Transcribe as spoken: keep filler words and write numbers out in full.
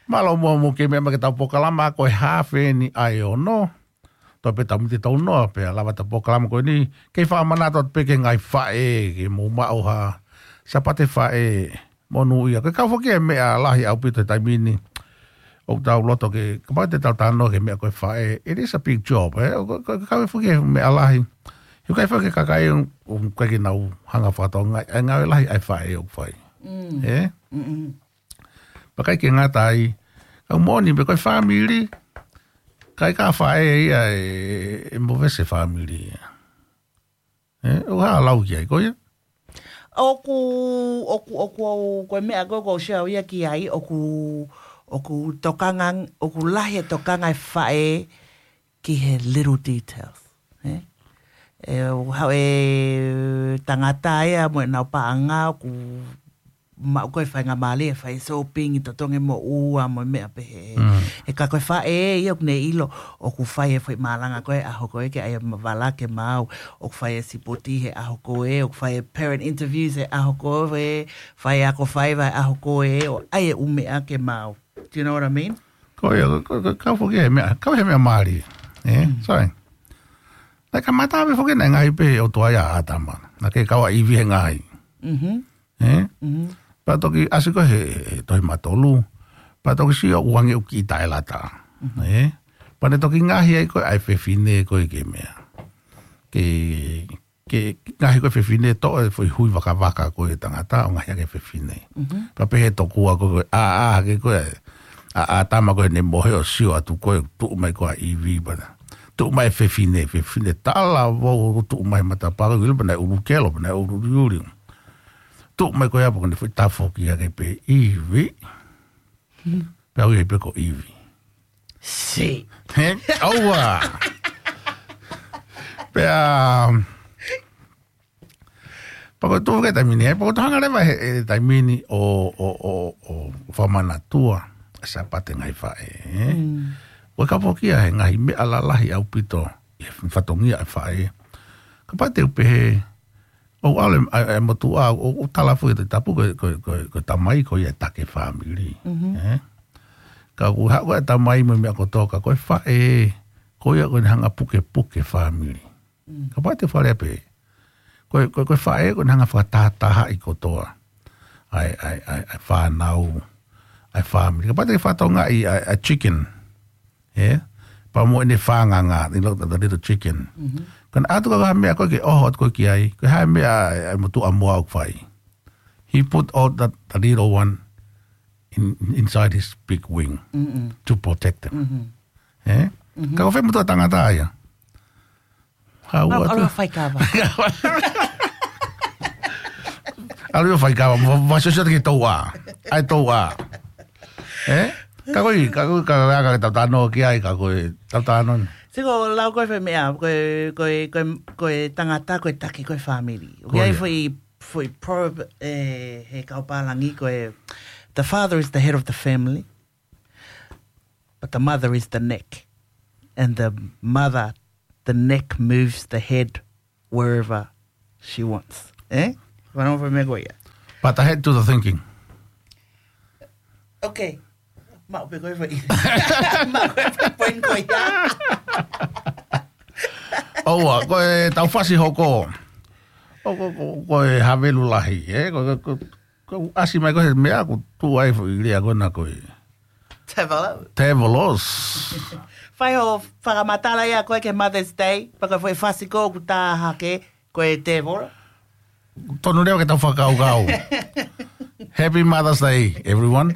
Mālō muʻa mo ke meʻa mai ki heʻetau polokalama ko e haafe eni ʻa e ono. Toe pē tau miniti ʻe tolu noa pea lava ʻetau polokalama ko eni. Kei fakamanatu atu pē ki he ngaahi faʻē, ke mou maʻu ha Sāpate Faʻē monūʻia. Ko e kau foki e meʻa lahi ʻaupito he taimi ni. ʻOku tau loto ke, kapau te tau talanoa ki he meʻa ko e faʻē, it is a big job, ē? ʻOku, ʻoku, ʻoku kau foki e meʻa lahi. He ʻoku ʻikai foki e kakai ʻoku, ʻoku ʻikai ke nau hanga ʻo fakatokangaʻi e ngāue lahi ʻa e faʻē ʻoku fai. Mm. Ē? Mm-mm. Pea ʻikai ke ngata ai, ka ʻoku moʻoni pē ko e fāmili, ʻikai ke faʻē ia ē, ʻe movesi e fāmili ia. Ē, ʻoku hā lau ki ai, ko ia? ʻOku, ʻoku, ʻoku, ʻoku, ko e meʻa ko ē ʻoku ou sio au ia ki ai, ʻoku, ʻoku tokanga, ʻoku lahi e tokanga e faʻē ki he little details, ē? ʻE, ʻoku haʻu e tangata ia mo ʻenau paʻanga, ʻoku maʻu ko ē faingamālie, fai e shopping, totongi e moʻua, mo e meʻa pehē. Mm. Ē ka ko e faʻē ia ʻoku ne ʻilo, ʻoku fai e foʻi malanga ko ē ʻaho ko ē ke ʻai e vala ke maau, ʻoku fai e sipoti he ʻaho ko ē, ʻoku fai e parent interviews he ʻaho ko ē, fai e ako faiva he ʻaho ko ē, ʻo ʻai e ʻū meʻa ke maau. Do you know what I mean? Ko ia, ko, ko, ko, kau foki he meʻa, kau he meʻa mālie. Ē? Mm. Sorry. Naʻe kamata pē foki naʻe ngaahi pē ʻOtua ia ʻa ʻĀtama. Naʻe kei kau ʻa ʻIvi he ngaahi. Mhm. Ē? Mhm. Pea toki ʻasi ko ē he, he tohi Mātolu. Pea toki sio ʻoku ange ʻoku kiʻi taʻelata. Mhm. Ē? Pea ne toki ngaahi ai ko ē ʻa e fefine ko ē ki he meʻa. Ke, ke ngaahi ko ē fefine toʻo e foʻi hui vakavaka ko ē tangata ʻo ngaahi ake fefine. Mhm. Pea pehē tokua ko ē, ʻā, ʻā, ke ko ē, ʻa, ʻa ʻĀtama ko ē ne mohe ʻo sio atu ko ē, tuʻu mai ko ē ʻa ʻIvi pea. Tuʻu mai e fefine, fefine talavou, tuʻu mai matapā, ʻilo pē naʻe ʻulu kelo, pē naʻe ʻulu uliuli. Tuʻu mai ko ē pea ko ʻene foʻi tafoki ake pē ʻIvi. Pea ui ai pē ko ʻIvi. Si. He, ʻoua. Pea, pea ko e tuʻu ki he taimi ni, ē, pea ko e tohanga leva he, he taimi ni ʻo, ʻo, ʻo, ʻo fakamanatua e Sāpate ngaahi faʻē, ē. Mm. Ko e kau foki ia he ngaahi meʻa lalahi ʻaupito, he fatongia e faʻē. Kapau te u pehē, ʻoku ʻalu e, e, e motuʻa, ʻo, ʻo tala foki e Tohi Tapu ko, ko, ko, ko e tamai ko ia e taki e fāmili, mhm, ē. Ka ʻoku haʻu ko ē e tamai mo e meʻa kotoa ka ko e faʻē, ko ia ko ʻene hanga pukepuke e fāmili. Mm. Kapau te u faleʻi pē. Ko e, ko e, ko e faʻē, ko ʻene hanga fakatahatahaʻi kotoa ʻa e, ʻa e, ʻa e, ʻa e fānau, ʻa e fāmili. Kapau te ke fakatokangaʻi ʻa e, ʻa e chicken, ē? Pea mo ʻene fānganga, you know, the, the little chicken. Mhm. Ka naʻe ʻatu ko ē ha meʻa ko ē ke ʻoho atu ko ē ki ai, ko e hā e meʻa ʻa e, ʻa e motuʻa moa ʻoku fai. He put all the, the little one in, inside his big wing, mm-mm, to protect them. Mhm. Ē? Mhm. Ka ko fē motuʻa tangata ia? Hau atu. ʻAlu ʻo faikava. ʻAlu ʻo faikava, mo, mo sio sio ki he touʻā. ʻAi touʻā. Ē? Ka ko e, ka ko e, ka ko e, ka ko e tau talanoa ki ai, ka ko e tau talanoa. Siko, lau ko ē foʻi meʻa, ko e, ko e, ko e, ko e tangata, ko e taki, ko e fāmili. Ko ia. ʻOku ʻi ai foʻi, foʻi proverb, ē, he kau pālangi, ko e, the father is the head of the family. But the mother is the neck. And the mother, the neck moves the head wherever she wants. Ē? Wano fa me ko ia. But the head do the thinking. Okay. Maʻu pē ko e foʻi. Maʻu pē ko e foʻi point ko ia. ʻOua, ko e tau fasi hoko. ʻO, ko, ko, ko e havelu lahi, ē? Ko, ko, ko, ko ʻasi mai ko ē he meʻa ʻoku tuʻu ai foʻi lea ko ena ko e Tevelos. Tevelos. Fai hoʻo fakamatala ia ko ē ki he Mother's Day, pea ko e foʻi fasi ko ē ʻoku tā hake, ko e tēvolo. Tonu leva ke tau fakakaukau. Happy Mother's Day, everyone.